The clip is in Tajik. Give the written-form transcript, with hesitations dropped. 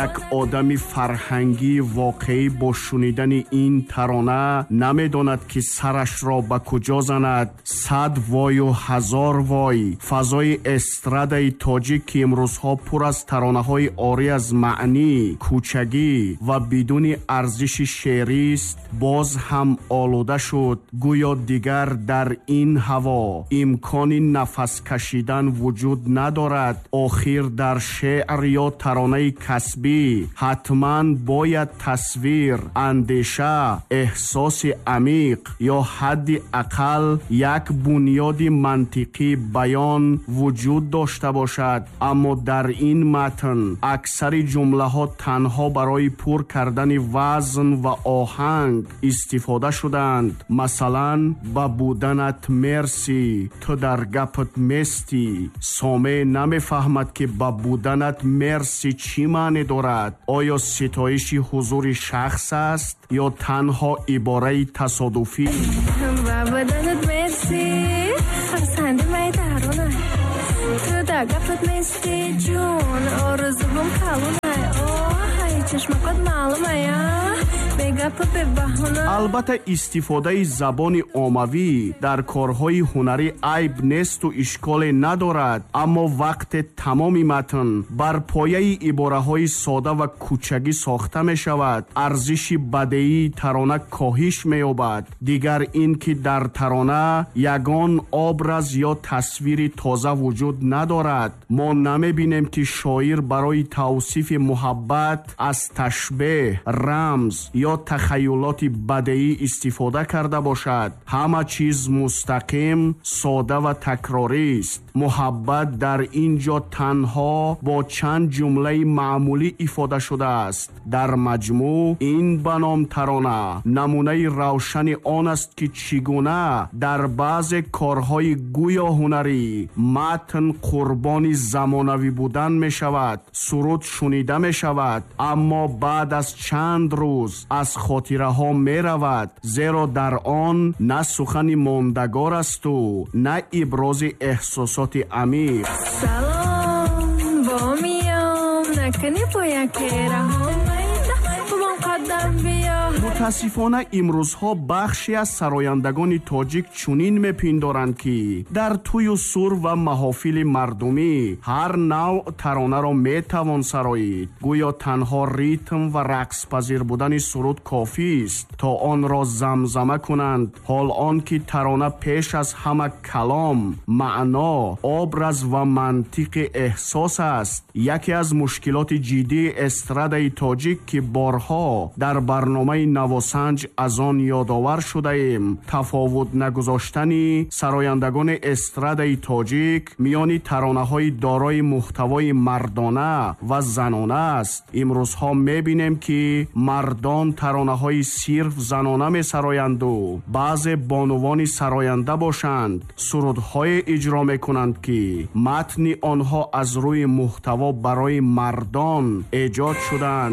Як одами фарҳангии воқеӣ бо шунидани ин тарона намедонад, ки сарашро ба куҷо занад. Сад вою ҳазор вой! Фазои эстрадаи тоҷик, ки имрӯзҳо пур аз таронаҳои орӣ аз маънӣ, кӯчагӣ ва бидуни арзиши шеърист, боз ҳам олуда шуд. Гӯё дигар дар ин ҳаво имкони нафас кашидан вуҷуд надорад. Охир дар шеър ё таронаи касбӣ ҳатман бояд тасвир, андеша, эҳсоси амиқ ё ҳадди ақал як бунёди мантиқии баён вуҷуд дошта бошад. Аммо дар ин матн аксари ҷумлаҳо танҳо барои пур кардани вазн ва оҳанг истифода шудаанд. Масалан, «Ба буданат мерсӣ, ту дар гапат местӣ». Сомеъ намефаҳмад, ки «ба буданат мерсӣ» чӣ маъне дорад. Оё ситоиши ҳузури шахс аст ё танҳо ибораи тасодуфӣ? Ба буданат мерсӣ, хурсанди майдарона, ту дар гапат местӣ, ҷон, орзуҳом калонай, оҳай, чашмакот маълумая, бегапу бебаҳона. Албатта, истифодаи забони оммавӣ дар корҳои ҳунарӣ айб несту ишколе надорад, аммо вақте тамоми матн бар пояи ибораҳои сода ва кӯчагӣ сохта мешавад, арзиши бадеии тарона коҳиш меёбад. Дигар ин ки дар тарона ягон образ ё тасвири тоза вуҷуд надорад. Мо намебинем, ки шоир барои тавсифи муҳаббат аз ташбеҳ, рамз ё тахаюлоти бадеӣ истифода карда бошад. Ҳама чиз мустақим, сода ва такрорист. Муҳаббат дар ин ҷо танҳо бо чанд ҷумлаи маъмулӣ ифода шудааст. Дар маҷмӯъ, ин ба ном тарона намунаи равшани он аст, ки чӣ гуна дар баъзе корҳои гӯё ҳунарӣ матн қурбони замонавӣ будан мешавад. Суруд шунида мешавад, аммо баъд аз чанд рӯз аз хотираҳо меравад, зеро дар он на сухани мондагор асту на ибрози эҳсосоти амиқ. Салом, бо миём накунӣ бо яке раҳом, бумон қадам биё. Мутаассифона, имрӯзҳо бахше аз сарояндагони тоҷик чунин мепиндоранд, ки дар тӯю сур ва маҳофили мардумӣ ҳар навъ таронаро метавон сароид. Гӯё танҳо ритм ва рақспазир будани суруд кофист, то онро замзама кунанд. Ҳол он ки тарона пеш аз ҳама калом, маъно, образ ва мантиқи эҳсос аст. Яке аз мушкилоти ҷиддии эстрадаи тоҷик, ки борҳо дар барномаи «Навосанҷ» аз он ёдовар шудаем, тафовут нагузоштани сарояндагони эстрадаи тоҷик миёни таронаҳои дорои муҳтавои мардона ва занона аст. Имрӯзҳо мебинем, ки мардон таронаҳои сирф занона месароянду баъзе бонувони сароянда бошанд, сурудҳое иҷро мекунанд, ки матни онҳо аз рӯи муҳтаво барои мардон эҷод шуданд.